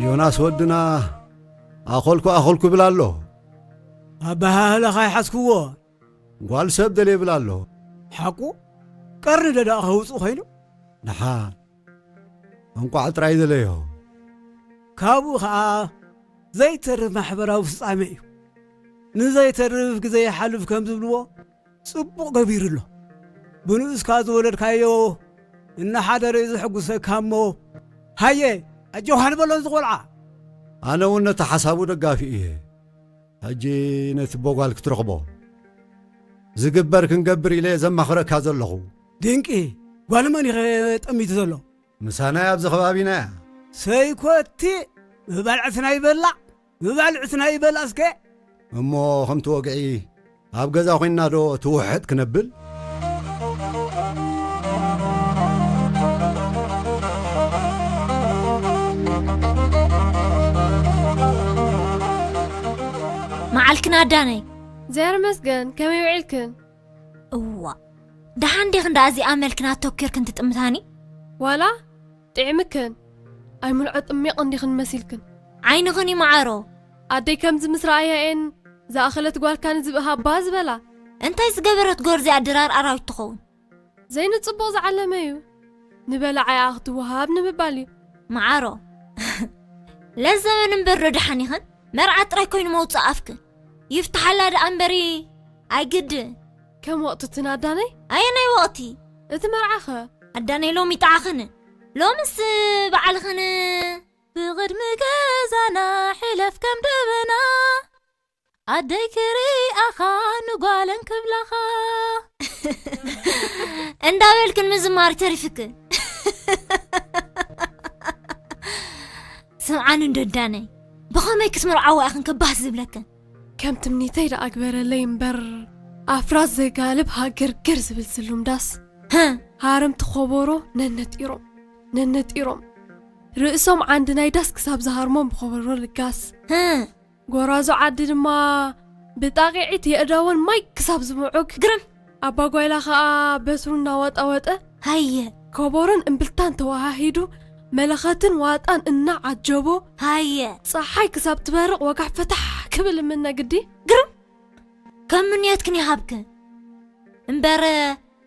ዮናስ ወድና፣ ኣኸልኩ ኣኸልኩ ይብል ኣሎ። ኣበሃህላኻ ይሓዝክዎ። ጓል ሰብ ደልየ ይብል ኣሎ። ሓቁ? ቀርኒ ደዳእ ከውፅእ ኮይኑ? ደሓን። እንቋዕ ጥራይ ደለዮ። ካብኡ ኸዓ ዘይተርፍ ማሕበራዊ ፍጻሜ እዩ። ንዘይተርፍ ግዜ ይሓልፍ ከም ዝብልዎ፣ ጽቡቕ ገቢሩ ኣሎ። ብንኡስካ ዝወለድካዮ እናሓደረ እዩ ዘሐጉሰካ እሞ፣ ሃየ፣ ኣጆኻ ንበሎ እዚ ቖልዓ። ኣነ እውን ነቲ ሓሳቡ ደጋፊ እየ። ሕጂ ነቲ ቦጓል ክትረኽቦ ዝግበር ክንገብር ኢለ ዘማኽረካ ዘለኹ። ድንቂ፣ ጓል መን ኢኸ ጠሚቱ ዘሎ? ምሳና ኣብዚ ከባቢና እያ። ሰይኮቲ፣ ምባልዕትና ይበላዕ፣ ምባልዕትና ይበላዕ እስከ። እሞ ከምቲ ወግዒ ኣብ ገዛ ኮይንና ዶ ትውሕጥ ክነብል? መዓልክን ኣዳነይ። እግዚኣብሔር ይመስገን፣ ከመይ ውዒልክን? እዋ፣ ደሓን ዲኽን ደኣ እዚኣ መልክን ኣተኲርክን ትጥምታኒ? ዋላ ጥዒምክን፣ ኣይምልዖ ጥሚቕ እንዲኽን መሲልክን። ዓይንኽን ይመዓሮ። ኣደይ ከምዚ ምስ ረኣያ እየን ዝኣኸለት ጓልካ ንዝብኢ ሃባ ዝበላ። እንታይ ዝገበረት ጎርዚ ኣድራር ኣራዊት ትኸውን? ዘይንጽቡቕ ዝዓለመ እዩ። ንበላዓይ ኣኣ ክትወሃብ ንምባል እዩ። መዓሮ። ለዘበን እምበር ዶ ደሓን ኢኽን? መርዓ ጥራይ ኮይኑ መውጽእ ኣፍክን። ይፍትሓላ ደኣ እምበሪ ኣይግድን። ከም ወቕቲ እቲ ናዳነይ? ኣየናይ ወቕቲ? እቲ መርዓኸ? ኣዳነይ ሎሚ ይጥዓኽን። ሎምስ በዓልኽን። ብቕድሚ ገዛና ሕለፍ ከም ደበና። ኣደይ ክሪኣኻ ንጓለን ክብላኻ። እንዳበልክን ምዝማር ተሪፍክን። ስምዓኒ እንዶ ኣዳነይ፣ ብኸመይ ክትምርዓዋ ኢኽን ከባህ ዝብለክን? ከም ትምኒተይ ደኣ ግበረለይ እምበር፣ ኣፍራስ ዘጋልብ ሃገርገር ዝብል ዝሉም ዳስ። ህእ። ሃረምቲ ኾቦሮ ነነጢሮም፣ ነነጢሮም። ርእሶም ዓንዲ ናይ ዳስ ክሳብ ዝሃርሞም ብኾቦሮ ልጋስ። ህእ። ጎራዙ ዓዲ ድማ ብጣቂዒት የእዳወን ማይ ክሳብ ዝምዑግ። ግርም። ኣባ ጓይላ ኸኣ በትሩ እናወጣወጠ። ሃየ። ኮቦሮን እምብልታን ተወሃሂዱ፣ መለኸትን ዋጣን እናዓጀቦ። ሃየ። ጸሓይ ክሳብ ትበርቕ ወጋሕ ፈታሕ ክብል እምነ ግዲ። ግርም። ከም ምንየትክን ይሃብክን። እምበር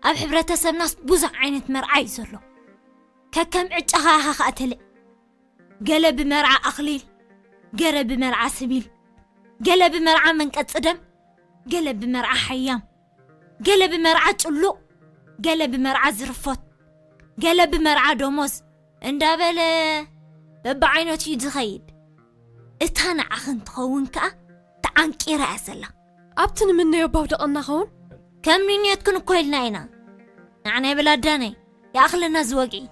ኣብ ሕብረተሰብናስ ብዙሕ ዓይነት መርዓ እዩ ዘሎ። ከከም ዕጫኻ ኢኻ ኸኣ ተልዕ። ገለ ብመርዓ ኣኽሊል፣ ገለ ብመርዓ ስቢል፣ ገለ ብመርዓ መንቀጽ ደም፣ ገለ ብመርዓ ሓያም፣ ገለ ብመርዓ ጭሉቕ፣ ገለ ብመርዓ ዝርፎት፣ ገለ ብመርዓ ደሞዝ እንዳበለ በብዓይነቱ እዩ ዝኸይድ። እታ ንዓኽን ትኸውን ከኣ ተዓንቂራ እያ ዘላ። ኣብቲ ንምነዮ ባውደቐና ኸውን? ከም ንንየትክን እኮ ኢልና ኢና። ንዓና ይበል ኣዳነይ፣ ይኣኽለና እዚ ወግዒ።